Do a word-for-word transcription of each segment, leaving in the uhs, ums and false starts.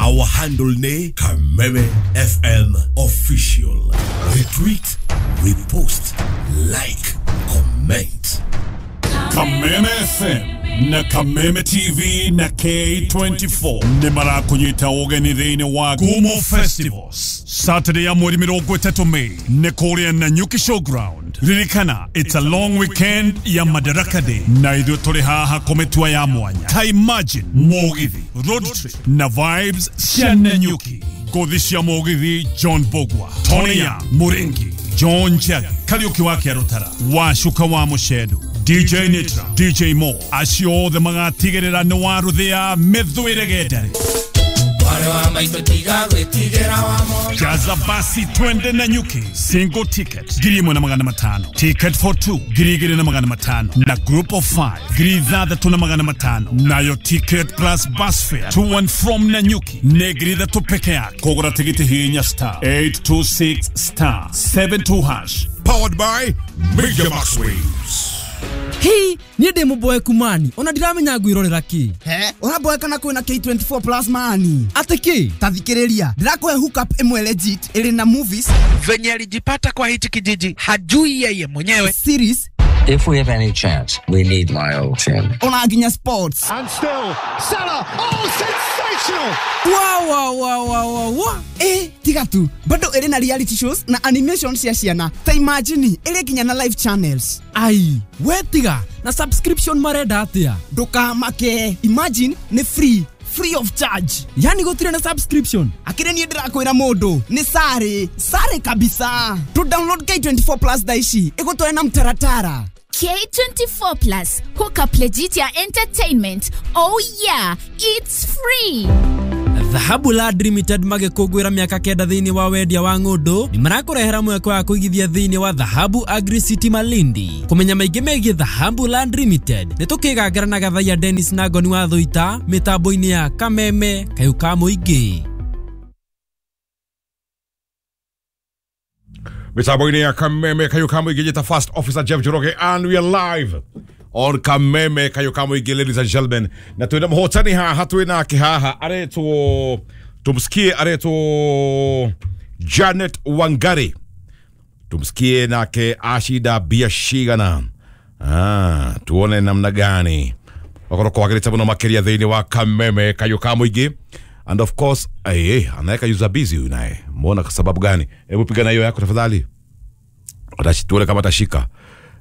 Our handle ni Kameme F M Official. Retweet, repost, like, comment. Kameme F M na Kameme T V na K twenty-four ni marakunyita ugeni thiini wa Gumo Festivals Saturday ya mweri mirongo itatu May ni kuria Nanyuki Showground. Ririkana, it's a long weekend ya Madaraka Day na ithuĩ tũrĩ haha kũmĩtua ya mwanya. Ta imagine mũgithi, road trip na vibes cia Nanyuki. Ngũthi cia mũgithi John Bogwa, Tony Young, Muringi, John Njagi, Kariuki wa Kĩarũtara, Wacuka wa Mũcendu, D J Nitra, D J Mo, acio othe magatigĩrĩra nĩ waruthia mĩthwĩre gendare. Jaza basi twende Nanyuki. Single ticket ngiri ĩmwe na magana matano, ticket for two ngiri igĩrĩ na magana matano, na group of five ngiri ithathatũ na magana matano. Nayo ticket plus bus fare to and from Nanyuki nĩ ngiri ithatũ peke yake. Kũgũra tigiti hihinya star eight two six star seven two hash. Powered by Major Max Waves. Hii niĩ ndĩ mũboeku mani ona ndiramenya ngwĩrorera kĩ. He ũraboeka na kwĩna K twenty-four plus mani atĩ kĩ? Ta thikĩrĩria, ndĩrakũhe hookup ĩmwe legit ĩrĩ na movies. Venye alijipata kwa hichi kijiji hajui yeye mwenyewe. Series. If we have any chance, we need my old team. Ona nginya sports. And still Salah, oh sensational. Wow wow wow wow wow. Eh, tiga tu. Bado ĩrĩ na reality shows na animation cia ciana. Ta imagine ĩrĩ nginya na live channels. Ai, we tiga na subscription marenda atia? Ndukamake. Imagine ni free. Free of charge. Yani gũtirĩ na subscription. Akĩrĩ niĩ ndĩrakwĩra mũndũ nĩ sare, sare kabisa. To download K twenty-four plus thaa ici ĩgũtware na mtaratara. K twenty-four plus hook up legit ya entertainment. Oh yeah, it's free. Dhahabu Land Limited magĩkũngũĩra mĩaka kenda thĩinĩ wa wendia wa ng'ũndũ nĩ marakũrehera mweke wa kũigithia thĩinĩ wa Dhahabu Agri City Malindi. Kũmenya maingĩ megiĩ Dhahabu Land Limited nĩ tũkĩgangara na Gathaiya Dennis na Ngoni wa Thũita mĩtambo-inĩ ya Kameme Kayũ ka Mũingĩ. Mĩtambo-inĩ ya Kameme Kayũ ka Mũingĩ, njĩta First Officer Jeff Njoroge and we are live on Kameme Kayũ ka Mũingĩ, ladies and gentlemen. Na twĩna mũhotani haha, twĩnake haha aretwo, tumsikie, aretwo Janet Wangari. Tumsikie nake ashida biashigana. Ah, tuone namna gani wakorwo kwagĩrĩte mũno makĩria thĩinĩ wa Kameme Kayũ ka Mũingĩ. And of course, eh, anaweka user busy huyu naye. Mbona kwa sababu gani? Hebu piga na hiyo yako tafadhali. Atashituone kama atashika.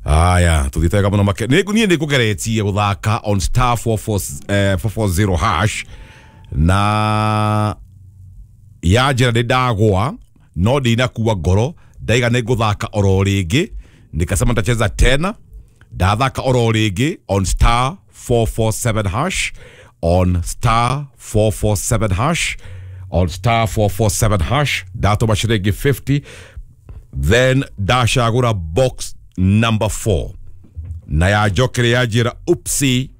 Aya, tuthiete kama no make. Niĩ niĩ nĩngũgeretie gũthaka on star four four, eh, four four zero hash na ya njĩra nĩ ndagwa no ndinakua ngoro, ndaiga nĩ ngũthaka oro rĩngĩ, nikasema nitacheza tena, ndathaka oro rĩngĩ on star four four seven hash, on star four four seven hash, on star four four seven hash, ndatũma ciringi fifty, then ndacagũra box number four na ya njokere ya njĩra upsi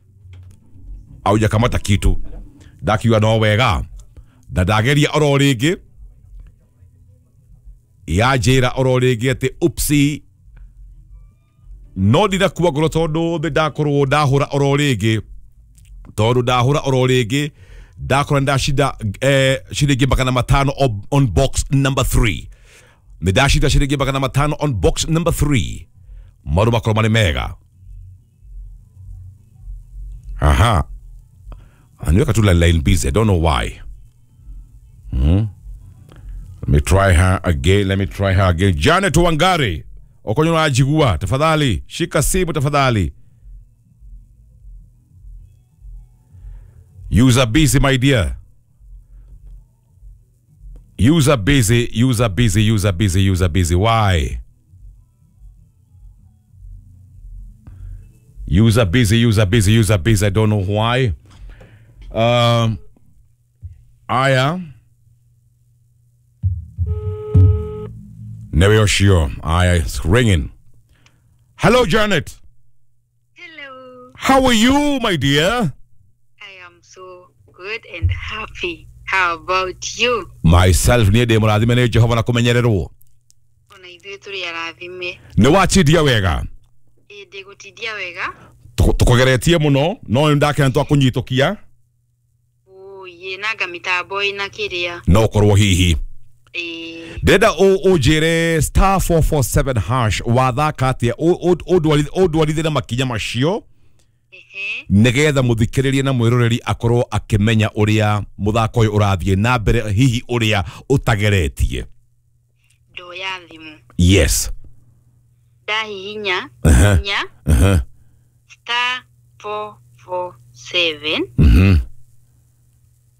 aujakamata kitu, ndakiuga no wega na ndageria oro rĩngĩ ya njĩra oro rĩngĩ atĩ upsi no ndinakua ngoro tondũ nĩ ndakorwo ndahũra oro rĩngĩ, tondũ ndahũra oro rĩngĩ ndakora ndashinda eh, ciringi magana matano on box number three. Nĩ ndashinda ciringi magana matano on box number three. Maũndũ makorwo marĩ mega. Aha. Aniweka tu line busy. I don't know why. Hmm. Let me try her again. Let me try her again. Janet Wangari. Okonyo unajigua. Tafadhali. Shika simu tafadhali. User busy, my dear. User busy, user busy, user busy, user busy. Why? User busy, user busy, user busy. I don't know why. Um, Aya. Newe Aya is ringing. Hello, Janet. Hello. How are you, my dear? I am so good and happy. How about you? Myself, niĩ ndĩ mũrathime nĩ Jehova na kũmenyererwo. Ona ithuĩ tũrĩ arathime. Nĩ watindia wega? Ĩĩ, ndĩgũtindia wega. Tũkũgeretie mũno, no nĩ ndakena twakũnyitũkia. Oh, Ĩ nanga mĩtambo ĩna kĩrĩa. No korwo hihi. Ĩ. Ndĩrenda ũnjĩre star four four seven hash wathaka atĩa, ũndwarithie na makinya macio nĩgetha mũthikĩrĩria na mwĩroreri akorwo akĩmenya ũrĩa mũthako ũyũ ũrathiĩ na mbere, hihi ũrĩa ũtageretie. Ndoya thimũ. Yes. Ndahihinya Uh-huh. inya Uh-huh. star four four seven Mhm.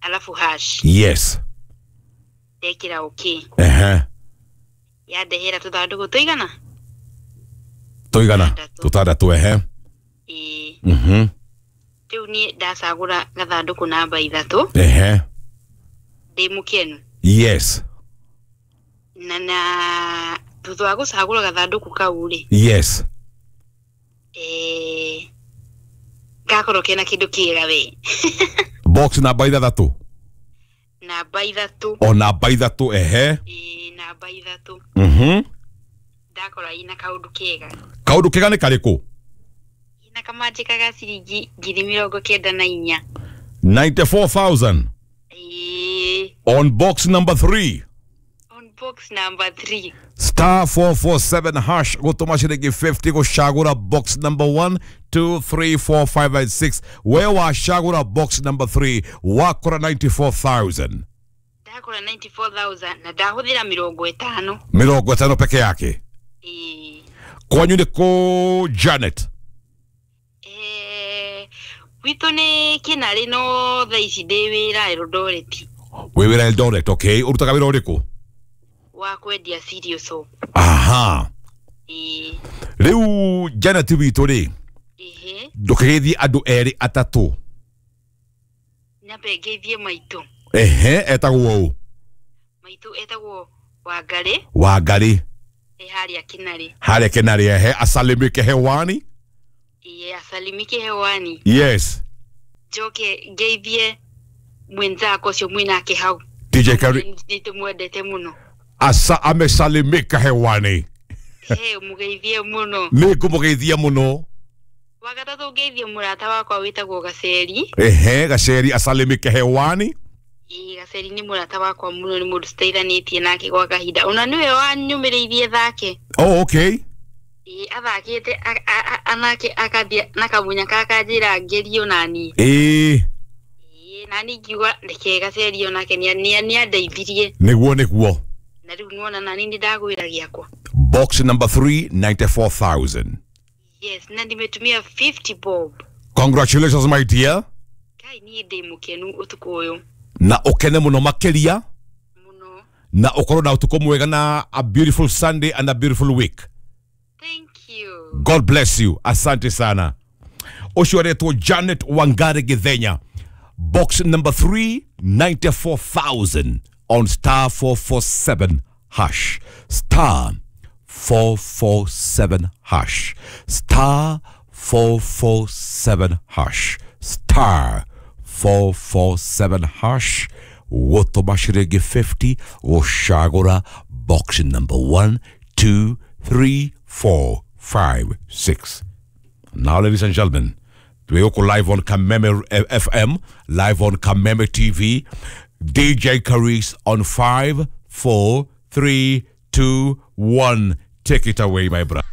alafu hash. Yes. Ndekĩra okay. Ehe. Yandehera tũthandũkũ tũigana? Tũigana tũtandatũ. Ehe. Ĩĩ. Mhm. Rĩu niĩ ndacagũra gathandũkũ namba ithatũ. Ehe. Ndĩ mũkenu. Yes. Na na thutha wa gũcagũra gathandũkũ kau rĩ. Yes. Eh, gakorwo kena kĩndũ kĩega we. Box namba ithathatũ. Namba ithatũ. O namba ithatũ. Ehe. Ĩĩ, namba ithatũ. Mhm. Ndakora ina kaũndũ kega. Kaũndũ kega nĩ karĩkũ? Ina kamanjĩka ga ciringi ngiri mĩrongo kenda na inya. ninety-four thousand. Ĩĩ. On box number three. On box number three. Star four four seven hash gũtũma ciringi fifty gũcagũra box number one, two, three, four, five and six. We wacagũra box number three wakora ninety-four thousand. Ndakora ninety-four thousand na ndahũthĩra mĩrongo ĩtano. Mĩrongo ĩtano peke yake. Ĩĩ. Kwanyu nĩ kũ Janet? Eh, gwitũ nĩ Kĩnarĩ no thaa ici ndĩ wĩra Eldoret. Wĩ wĩra Eldoret, okay. Ũrutaga wĩra ũrĩkũ? Wa kwendia cereal soap. Aha. Ĩĩ. Rĩu Janet witũ rĩ, Ehe. ndũkĩgeithie andũ erĩ atatũ. Nyambe ngeithie maitũ. Ehe, etagwo ũ? Maitũ etagwo Wangarĩ. Wangarĩ. E harĩa Kĩnarĩ. Harĩa Kĩnarĩ, ehe, asalimike hewani. Ĩĩ, asalimike hewani. Yes. Njoke ngeithie mwenzako ũcio mwĩnake hau. D J Kari. Nĩtũmwendete mũno. Asa amesalimika hewani. He, mũgeithie mũno. Nĩngũmũgeithia mũno. Wagatatũ ngeithie mũrata wakwa wĩtagwo Gaceri. Ehe, Gaceri asalimike hewani. Ĩĩ, Gaceri nĩ mũrata wakwa mũno, nĩ mũndũ tũteithanĩtie nake gwa kahinda. Ona nĩwe wanyũmĩrĩirie thake. Oh, okay. Ĩĩ, athakĩte anake akathiĩ na kamunya kakanjĩra ngerie onaniĩ. Ĩĩ. Ĩĩ, nani ngiuga reke Gaceri onake nĩandeithirie. Nĩguo, nĩguo. Na rĩu nĩwona nani nĩndagwĩra gĩakwa. Box number three, ninety-four thousand. Yes, na nimetumia fifty bob. Congratulations my dear. Kai niĩ ndĩ mũkenu ũtukũ ũyũ. Na ũkene mũno makĩria. Mũno. Na ũkorwo na ũtukũ mwega na a beautiful Sunday and a beautiful week. Thank you. God bless you. Asante sana. Ũcio aretwo Janet Wangari Githenya. Box number three, ninety-four thousand on star four four seven hash. Star four four seven hash. Star four four seven hash. Star four four seven hash. Gũtũma ciringi fifty gũcagũra box number one, two, three, four, five, six. Now, ladies and gentlemen, we are live on Kameme F M, live on Kameme T V. D J Carice on five, four, three, two, one. Take it away, my brother.